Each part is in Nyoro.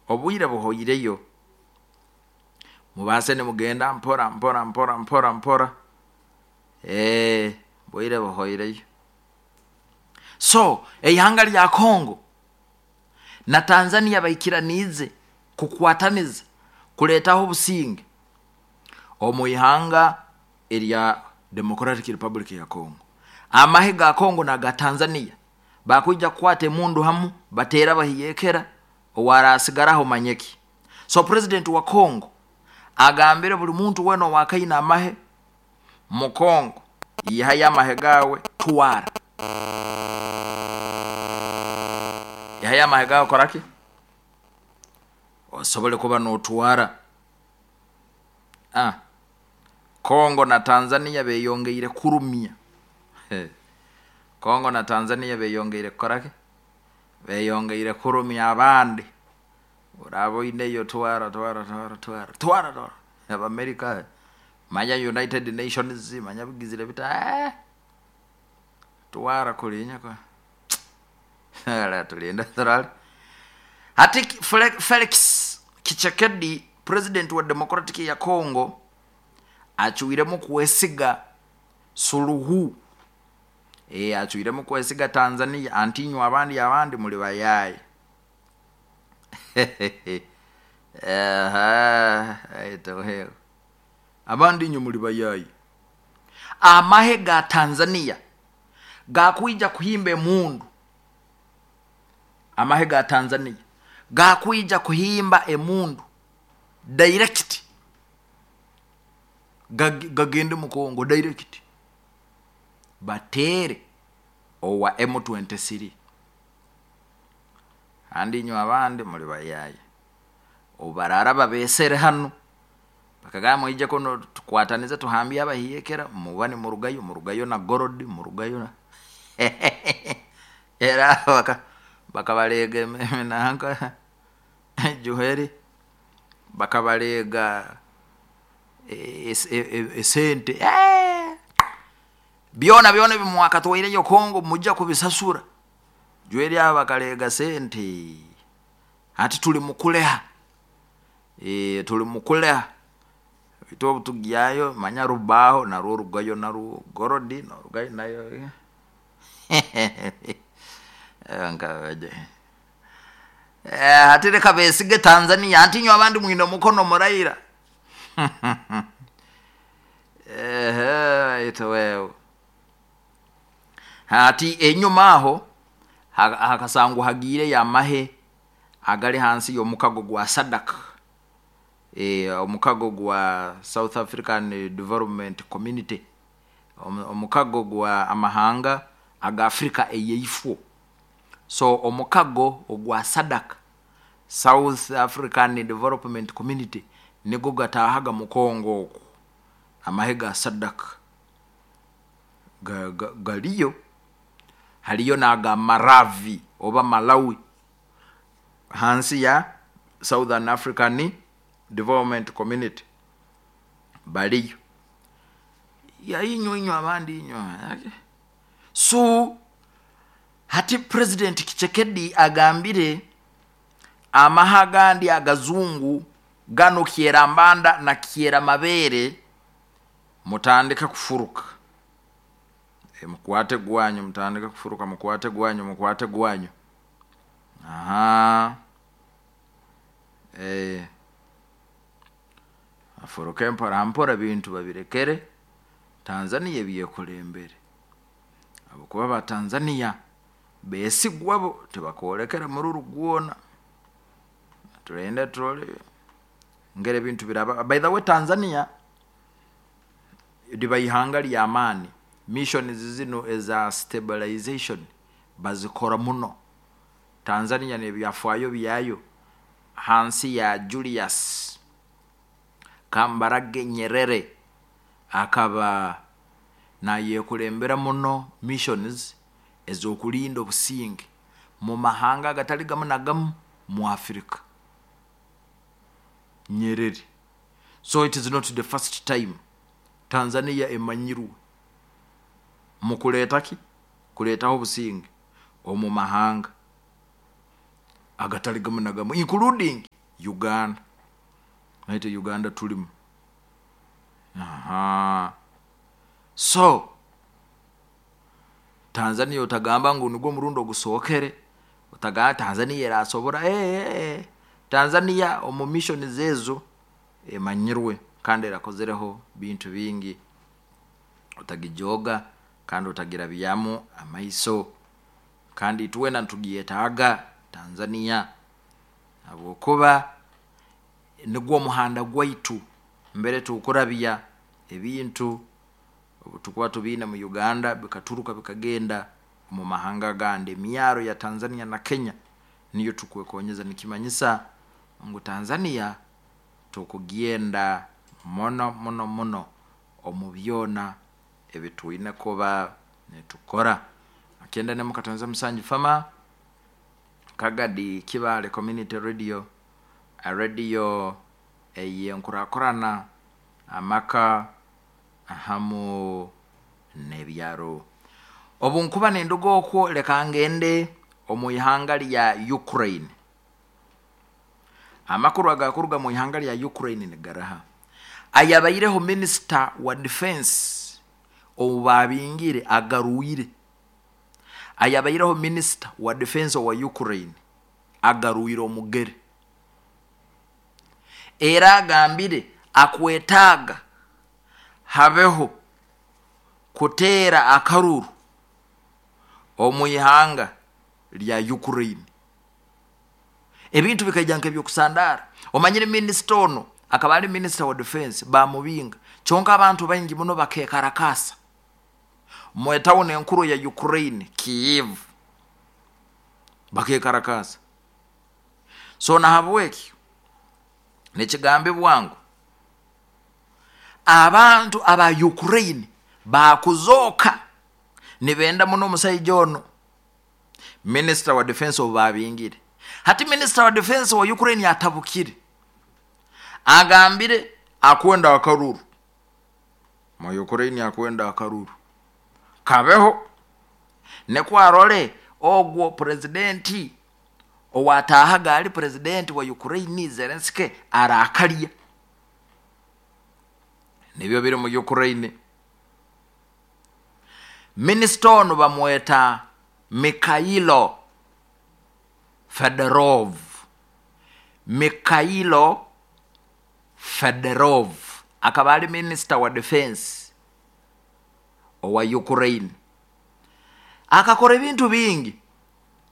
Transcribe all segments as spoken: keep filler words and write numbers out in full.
Obwire buhoireyo, mubase nimugenda mpora mpora mpora mpora mpora. Eh, bwire buhoireyo. So eihanga lya Congo na Tanzania baikiraniize kukwataniza kuleetaho obusinge omu ihanga erya Democratic Republic ya Congo. Amahe ga Congo n'aga Tanzania bakwija kukwata emundu hamu, bateera bahiyekera owarasigaraho manyeki. So president wa Congo agambire buli muntu wena owakaine amahe mu Congo, ihayo amahe gawe twara, ihayo amahe gawe koraki osobole kuba notwara. Ah, Congo na Tanzania beyongeire kurumya. Congo na Tanzania beyongeire kukoraki, beyongeire kurumya abandi. Oraba oineyo twara twara twara twara twara twara. Abamerika manya United Nations manya bigizire bita, eh, twara kulinya kwa ala tulinda turali. Hati Felix Tshisekedi president wa Democratic ya Congo achuiremu kwesiga suluhu. E, achuiremu kwesiga Tanzania antinywa abandi abandi muli bayaye. Aha, aito abandi nyo muli bayaye. Amahe ga Tanzania gakwija kuhimba emundu. Amahe ga Tanzania gakwija kuhimba emundu direct, gagende mu Congo direct, batere owa M twenty-three. Andi nyo abandi muli bayaye obarara babesere hano bakagamba ije kono tukwatanize tuhambye abahiyekera mubane murugayo murugayo na gorodi murugayo na era baka bakabalega nanka Juheri bakabalega esente eh byona byona bimwakatwaireyo Kongo mujja kubisasura. Juheri abakalega sente ati tuli mukuleha, eh tuli mukuleha ito tugiyayo manya rubaho na rugayo na gorodi na rugayo nayo ankaje eh ati reka besige Tanzania antinyo abandi mwino mukono muraira. Eh ito wewe hati enyuma aho hakasangwa hagire ya mahe agali hansi yo mukago gwa SADC, eh omukago gwa South African Development Community, omukago gwa amahanga aga Afrika eyeifo. So omukago ogwa SADC, South African Development Community, nigo gatahaga mu Kongo oku amahe ga SADC ga, ga, galiyo. Haliyo naga Maravi oba Malawi hansi ya Southern African Development Community baliyo ya inyo inyo abandi inyo. So hati President Tshisekedi agambire amahagandi agazungu gano kierambanda na kiera mabere mutandika kufuruka. E, mkwate gwanyu mutandika kufuruka, mkwate gwanyu mkwate gwanyu. Aha. Eh afuruke mpora mpora bintu babirekere Tanzania biyekulembere. Abo kuba ba Tanzania besigwabo tebakolekera muri rugwona. Tulende trole ngere bintu biraba. By the way, Tanzania diba ihanga lya amani, mission zino eza stabilization bazikora muno. Tanzania ne byafaayo byayo hansi ya Julius Kambarage Nyerere akaba nayekulembera muno missions ezokulinda obusinge mu mahanga agatali gamu na gamu mu Africa. Nyerere. So it is not the first time Tanzania emanyirwe mu kuleeta ki kuleetaho obusinge omu mahanga agatali gamu na gamu, including Uganda. Naitwe Uganda tulimu. Aha. So Tanzania otagamba ngu nigwo murundi ogusookere, otagamba Tanzania erasobora. eh, eh, eh. Tanzania omu mission zezo emanyirwe kandi erakozereho bintu bingi. Otagijoga kandi otagirabyamu amaiso, kandi itwena nitugyetaaga Tanzania, habwokuba nigwo omuhanda gwaitu mbere tukurabya ebintu obu tukuba tubiine mu Uganda bikaturuka bikagenda mu mahanga agandi. Emyaro ya Tanzania na Kenya niyo tukwekonyeza, nikimanyisa ngu Tanzania tukugenda muno muno muno omu byona ebitwine kuba nitukora. Akenda ne mukatonza musanju fama Kagadi Kibale Community Radio, a radio eyenkurakurana amaka ahamu n'ebyaro. Obu nkuba ninduga okwo, leka ngende omu ihanga lya Ukraine. Amakuru agakuruga mu ihanga lya Ukraine nigaraha: ayabaireho minisita wa defense obu babingire agarwire. Ayabaireho minisita wa defense wa Ukraine agarwire omugere, era agambire akwetaaga habeho kuteera akaruru omu ihanga lya Ukraine. Ebintu bikaija nk'ebyokusandara. Omanyire minisita ono akaba ali minisita wa defense, bamubinga, kyonka abantu baingi muno bakekarakasa mu tawuni enkuru ya Ukraine, Kiev, bakekarakasa. So nahabwekyo nekigambibwa ngu abantu aba Ukraine bakuzooka nibenda muno omusaija ono minisita wa defense obu babingire. Hati minisita wa defense wa Ukraine atabukire, agambire akwenda akaruru mu Ukraine, akwenda akaruru kabeho nekwarole ogwo presidenti owatahaga ali presidenti wa Ukraine Zelensky arakalya. Nibyo biri mu Ukraine. Minisita ono bamweta Mikhailo Fedorov. Mikhailo Fedorov akaba ali minisita wa defense owa Ukraine. Akakora ebintu bingi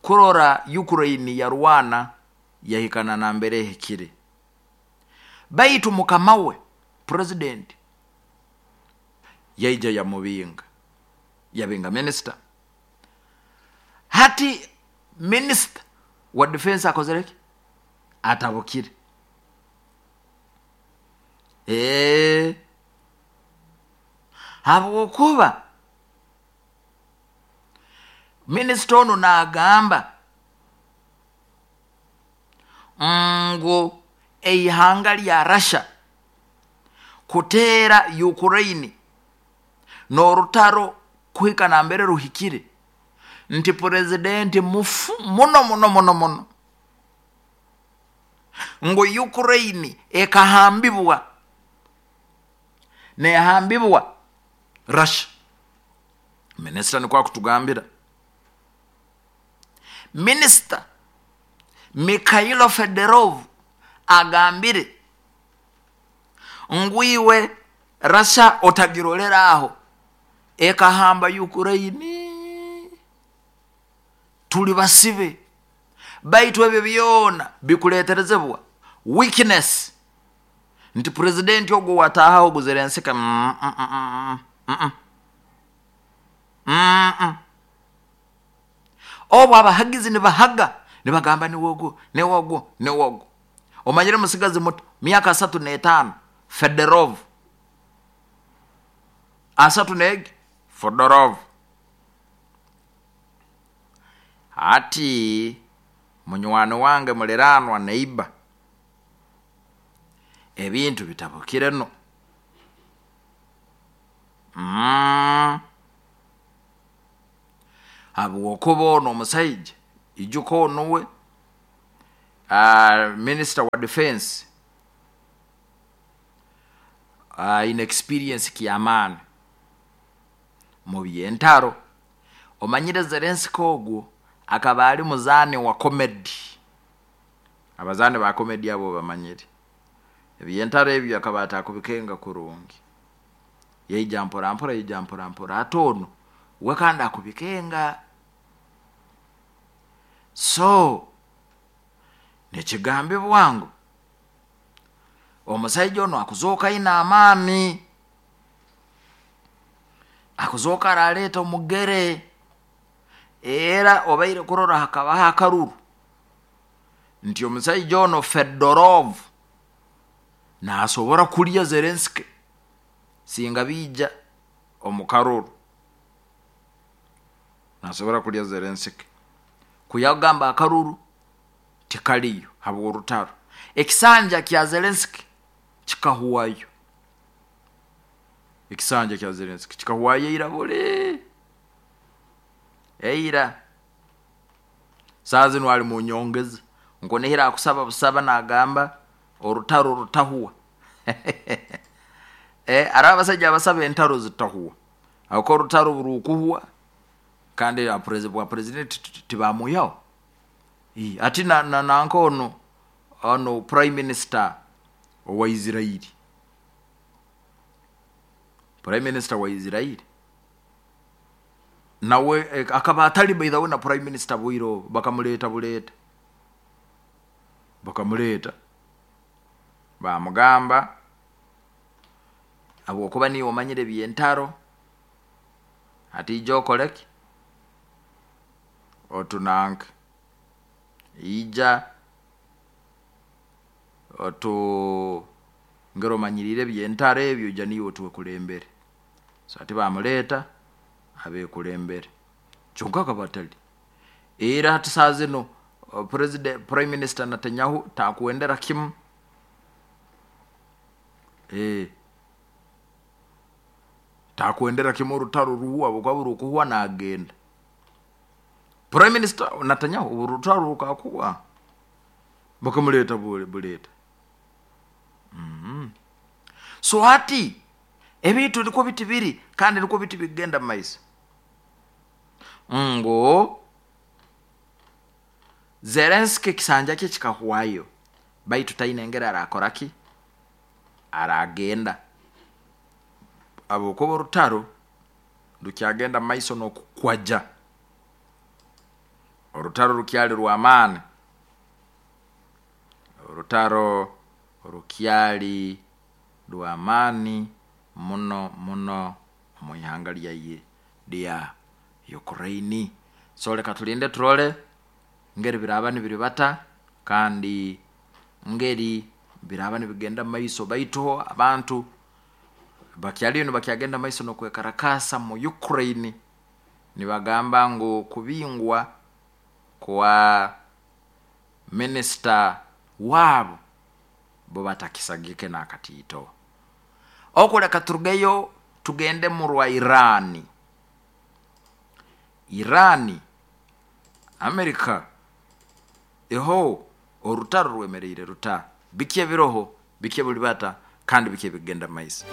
kurora Ukraine yarwana yahikana na mbere ehikire, baitu mukama we president yaija yamubinga, yabinga minisita. Hati minisita wa defense akozereki? Atabukire. Eh, habwokuba minisita ono nagamba ngu eihanga lya Russia kuteera Ukraine n'orutaro kuhika nambere ruhikire, nti presidenti mufu muno muno muno muno, ngu Ukraine ekahambibwa nehambibwa Russia. Minisita nikwo akutugambira. Minisita Mikhailo Fedorov agambire ngu iwe Russia otagirolera aho ekahamba Ukraine, tuli basibe, baitu ebyo byona bikuleterezebwa weakness, nti presidenti ogwo watahaho Zelensky mm, mm, mm, mm, mm, mm. Obu abahagizi nibahaga nibagamba niwogwo niwogwo niwogwo. Omanyire musigazi muto myaka asatu n'etaano Fedorov, asatu negi Fedorov. Hati munywani wange muliranwa neiba, ebintu bitabukire no. Mm. Habwokuba ono omusaija ijuka onuwe uh, minister wa defense uh, in experience kyamaani mu byentaro. Omanyire Zelensky ogwo akaba ali muzaani wa comedy, abazaani ba comedy abo bamanyire ebyentaro ebyo, akaba atakubikenga kurungi, yaija mpora mpora, yaija mpora mpora, ate ono we kandi akubikenga. So nekigambibwa ngu omusaija ono akuzooka aine amaani, akuzooka araleeta omugere, era obaire kurora hakabaho akaruru nti omusaija ono Fedorov nasobora kulya Zelensky singa biija omu karuru, nasobora kulya Zelensky. Kuyagamba akaruru tikaliyo habw'orutaro, ekisanja kya Zelensky kikahuwayo, ekisanja kya Zelensky kikahuwayo eira buli eira. Saa zinu ali mu nyongeza, nkunihira akusaba busaba nagamba orutaro rutahuwa. Eh, ari abasajja abasaba entaro zitahuwa, ako orutaro burukuhuwa kandi bwa president tibamuyaho. Ati na, na, nanka ono ono prime minister owa Israeli, prime minister wa Israeli nawe akaba atali by the way na prime minister bwiro, bakamuleta buleta bakamuleta bamugamba habwokuba niwe omanyire byentaro, ati ija okoleki otunanke ija otu ngero omanyirire byentaro ebyo, ija niwe otuwekulembere. So ati bamuleta abekulembere, kyonka akaba atali era. Hati saa zino president prime minister Netanyahu takuendera kimu eh takuendera kimu orutaro ruhuwa bukaba burukuhuwa nagenda. Prime minister Netanyahu orutaro rukakuwa bakamuleta bule buleta. Mm -hmm. So hati ebintu niko biti biri kandi niko biti bigenda maiso ngo Zelensky kisanja kye kikahuwayo, baitu taine engeri arakoraki aragenda abokuba orutaro rukyagenda maiso n'okukwaja, orutaro rukyali rw'amaani, orutaro rukyali rw'amaani muno muno omu ihanga lyaye lya Ukraine. So leka tulinde turole ngeri biraba nibiribata kandi ngeri biraba nibigenda maiso, baitu abantu bakyaliyo nibakyagenda maiso n'okwekarakasa mu Ukraine, nibagamba ngu kubingwa kwa minisita wabo bo batakisagike n'akatiito. Okuleka turugeyo tugende mu rwa Irani. Irani Amerika eho orutaro rwemereire ruta, biki ebiroho, biki ebulibata kandi biki ebigenda maiso.